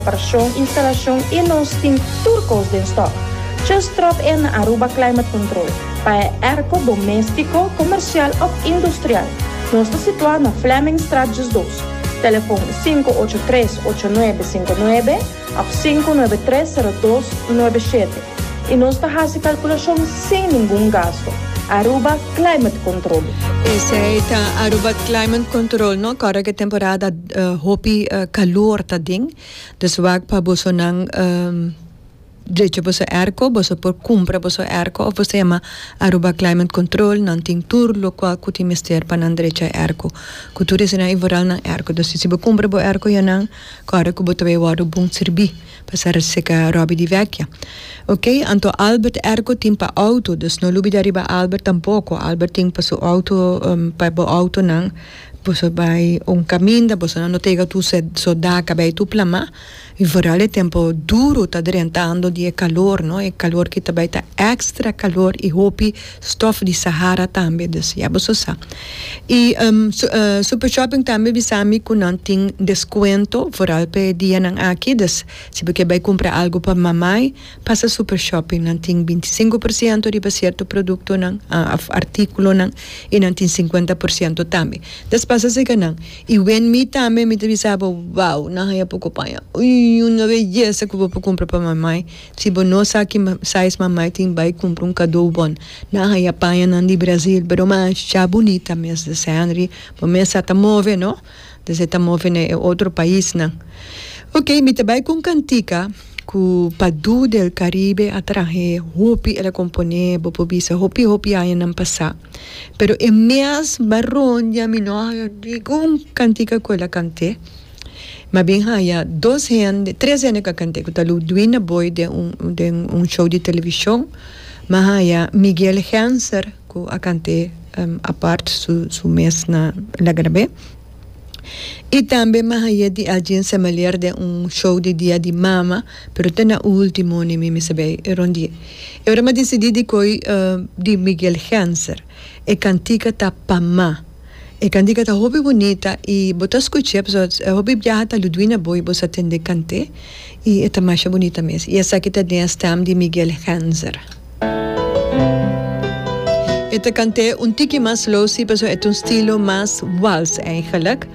Reparacion, instalacion y nos tin tur cos den stock. Just drop in na Aruba Climate Control pa e airco domestico, comercial of industrial. Nos ta situa na Flemingstraat 12. Telefon 583 8959 of 593 0297. Y nos ta haci calculacion sin ningun gasto. Aruba Climate Control. Esey ta Aruba Climate Control no? Kòrda ku e temporada hopi kalor ta den, dus wak pa bosonan drecha boso airco, boso por kumpra boso airco òf boso yama Aruba Climate Control, nan tin tur lokual ku tin mester pa nan drecha e airco, ku tur esnan i vooral nan airco. Dus si bo kumpra bo airco ya nan kòrda ku bo ta bai wòrdu bon sirbí. Pasa seka Robbie di Vecchia. Ok, anto Albert airco tin pa auto, dus no lubida riba Albert tampoco. Albert tin pa su auto, pa bo autonan, boso bai un caminda, bosonan no ta yega tur soda cabei tur plama. Y vooral e tempo duro ta drentando di e calor, no, e calor ki ta bai ta extra calor y hopi stof di Sahara tambe, dus ya boso sa. Y Super Shopping tambe bisa mi cu nan tin descuento, vooral pa e dianan aki, dus si bo ke bay cumpra algo pa mamai, pasa Super Shopping, nan tin bintisinco por ciento riba cierto productonan of articulonan y nan tin cincuenta por ciento tambe. Dus pasa cerca nan. Y wen mi tambe mi ta bisa bo, wow, nan haya poco paña, uy, una belleza cu bo por cumpra pa mamai. Si bo no sa ki size mamai tin bai cumpra un kadou bon. Nan haya pañanan di Brazil pero masha bunita mes des Henry bo mes sa ta move no des e ta move na e otro paisnan. Ok mi ta bai cu un cantica cu Padu del Caribe a trahe hopi el a compone bo por bisa hopi hopi añanan pasa pero e mes barondia mi no a haya ningun cantica cu el a cante. M'a bin haya dos hende, tres hende ku a kant'é, ku ta Ludwina Boy den un den un show di televishon. M'a haya Miguel Genser ku a kant'é apart su su mes na la grab'é. I tambe m'a hay'é di Elgin Semeleer den un show di Dia di Mama, pero te na ultimo ni mi mester bai rondi'é. E ora m'a disidí di koi di Miguel Genser. E kantika ta Pa Ma. E kantika ta hopi bunita i bo ta skuch'é pasobra hopi biaha ta Ludwina Boy bo sa tende kant'é i e ta masha bunita mes. I esaki ta den e stem di Miguel Genzer. E ta kant'é un tiki mas slow si pasobra e ta un stilo mas wals eigenlijk,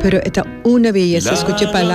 pero e ta una beyesa skuch'é pa.